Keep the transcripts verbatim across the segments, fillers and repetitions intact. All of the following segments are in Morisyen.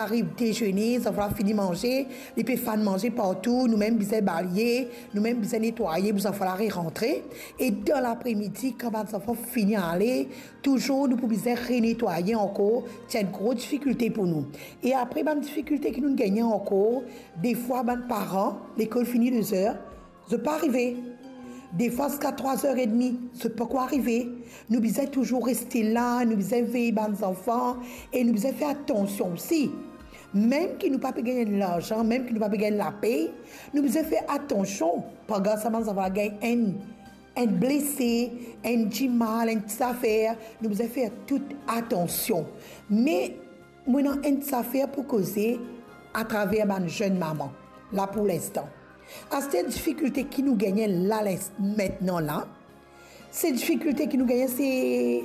ariv dezene, zanfan la fini manze, li pe fann manze partou, nou mem bizin balye, nou mem bizin netwaye pou zanfan la re-rantre. E dan lapremidi, kan bann zanfan fini ale, touzour nou pou bizin renetwaye ankor, ti enn gro difikilte pou nou. E apre bann difikilte ki nou gagne ankor, defwa bann paran, lekol fini de zer, zot pa arive. Defwa ziska trwa zer edmi, zot pankor arive. Nou bizin touzour reste la, nou bizin vey bann zanfan e nou bizin fer atansion osi. Mem ki nou pa pe gagn larzan, mem ki nou pa pe gagn lapey, nou bizin fer atansion. Pandan sa bann zanfan la gagn enn, enn blese, enn dimal, enn ti zafer, nou bizin fer tou atansion. Me mo ena enn ti zafer pou koze atraver bann zenn mama la pou linstan. Aster difikilte ki nou gagne la, lins-, mintnan la, se difikilte ki nou gagne, se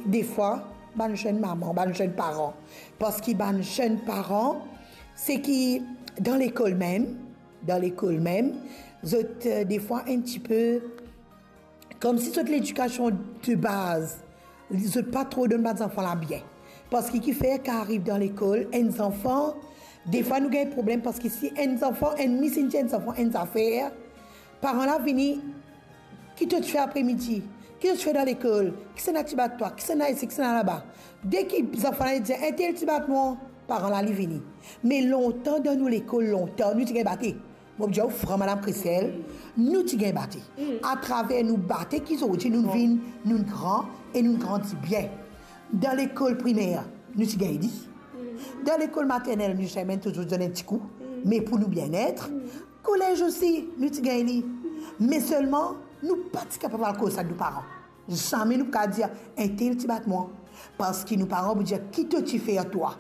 defwa bann zenn mama, bann zenn paran. Parski bann zenn paran, se ki dan lekol mem, dan lekol mem, zot, eh, defwa enn tipe koumsi zot ledikasion de baz, zot pa tro donn bann zanfan la bien. Parski kifer kan ariv dan lekol, enn zanfan, defwa nou gagn problem, parski si enn zanfan, enn mis inn dir enn zanfan enn zafer, paran la vini, ki to ti fer apremidi? Ki to ti fer dan lekol? Kisannla ti bat twa? Kisannla isi? Kisannla laba? Deki zanfan la dir, entel ti bat mwa, paran la li vini. Me lontan dan nou lekol, lontan, nou ti gagn bate. Mo pou dir ou fran, Madam Christelle, nou ti gagn bate. Atraver nou bate ki zordi nou vinn, nou gran e nou grandi bien. Dan lekol primer, nou ti gagn li. Dan lekol maternel, nou ti amenn touzour donn enn ti kou, me pou nou bienet. Kolez osi, nou ti gagn li. Me selman, nou pa ti kapav al koz sa nou paran. Zame nou pa kapav dir, entel ti bat mwa. Parski nou paran pou dir, ki to ti fer twa?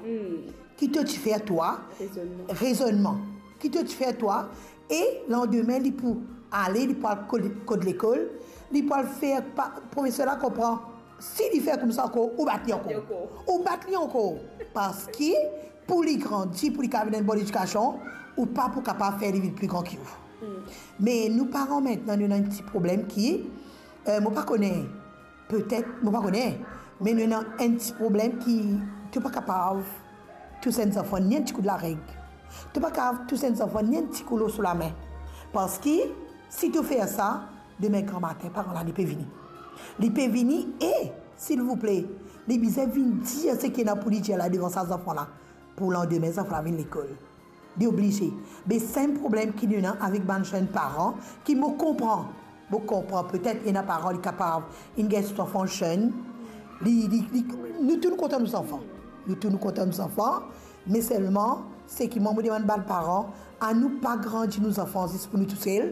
Ki to ti fer twa? Rezonnman. Rezonnman. Ki to ti fer twa? E landime, li pou ale, li pou al kot, kot lekol, li pou al fer pa, profeser la konpran. Si li fer koumsa ankor, ou bat li ankor. Li ankor. Ou bat li ankor. Parski pou li grandi, pou li kapav vinn enn bon ledikasion, ou pa pou kapav fer li vinn pli gran ki ou. Me nou paran mintnan, nou ena enn ti problem ki, eh, mo pa kone, petet, mo pa kone, me nou ena enn ti problem ki to pa kapav tous enn zanfan ni enn ti kou lareg. To pa kapav tous enn zanfan ni enn ti kou lor so lame. Parski si to fer sa, demin gramatin, paran la, li pe vini. Li pe vini e, silvouple, li bizin vinn dir seki ena pou li dir la devan sa zanfan la. Pou landime, zanfan la vinn lekol. Li oblize. Be sa enn problem ki nou ena avek bann zenn paran, ki mo konpran. Mo konpran, petet ena paran li kapav, inn gagn so zanfan zenn, li, li, li, nou tou nou kontan nou zanfan. Nou tou nou kontan nou zanfan, me selman, seki mwa mo demann bann paran, anou pa grandi nou zanfan zis pou nou tousel,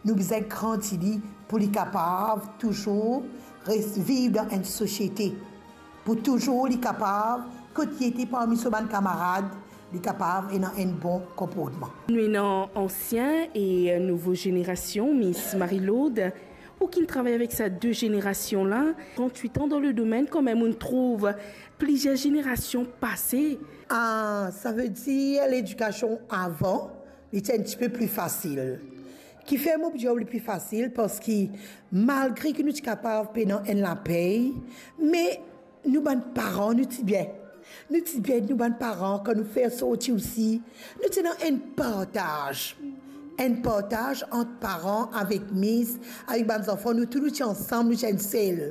nou bizin grandi li pou li kapav touzour res viv dan enn sosiete, pou touzour li kapav, kot li ete parmi so bann kamarad, li kapav ena enn bon konportman. Nou ena ansien e nouvo zenerasion, Miss Marie-Laude, ou ki'nn travay avek sa de zenerasion la, trant-wit an dan le domenn, kanmem ou'nn trouv plizier zenerasion pase. Ah, savedir ledikasion avan, li ti enn tipe pli fasil. Kifer mo pou dir ou li pli fasil? Parski malgre ki nou ti kapav pena enn lapey, me nou bann paran, nou ti bien. Nou ti bien, nou bann paran, kan nou fer sorti osi, nou ti ena enn partaz. Enn partaz ant paran avek mis, avek bann zanfan, nou tou nou ti ansam, nou ti enn sel.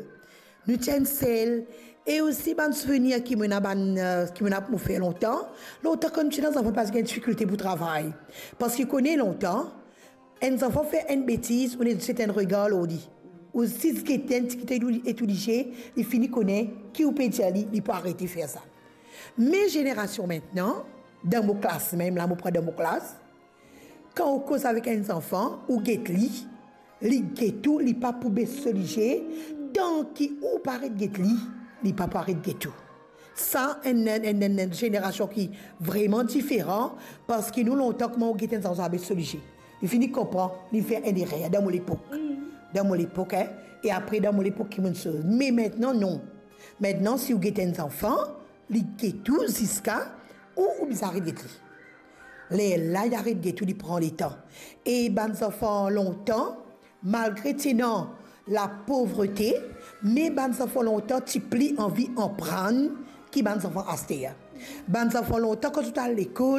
Nou ti enn sel. E osi bann souvenir ki mo ena bann, eh, ki mo ena pou mo fer lontan. Lontan kan nou ti ena zanfan, pa ti gagn difikilte pou travay. Parski kone lontan, enn zanfan fer enn betiz, ou ena zis enn regar lor li. Ou zis gete enn ti kite li etourdize, li fini kone ki ou pe dir li, li pou arete fer sa. Me zenerasion mintnan, dan mo klas mem, la mo pran dan mo klas, kan ou koz avek enn zanfan, ou get li, li get ou, li pa pou bes so lizie, tan ki ou pa aret get li, li pa pou aret get ou. Sa enn, enn, enn, enn, enn zenerasion ki vreman diferan, parski nou lontan, kouma ou get enn zanfan, ou bes so lizie. Li fini konpran, li fer enn erer dan mo lepok. Dan mo lepok, en, e apre dan mo lepok ki mo'nn soz. Me mintnan, non. Mintnan, si ou get enn zanfan, li get ou ziska ou, ou bizin aret get li. Lerla li aret get ou, li pran letan. E bann zanfan lontan, malgre ti ena lapovrete, me bann zanfan lontan ti pli anvi aprann ki bann zanfan aster. Bann zanfan lontan, kan zot al lekol,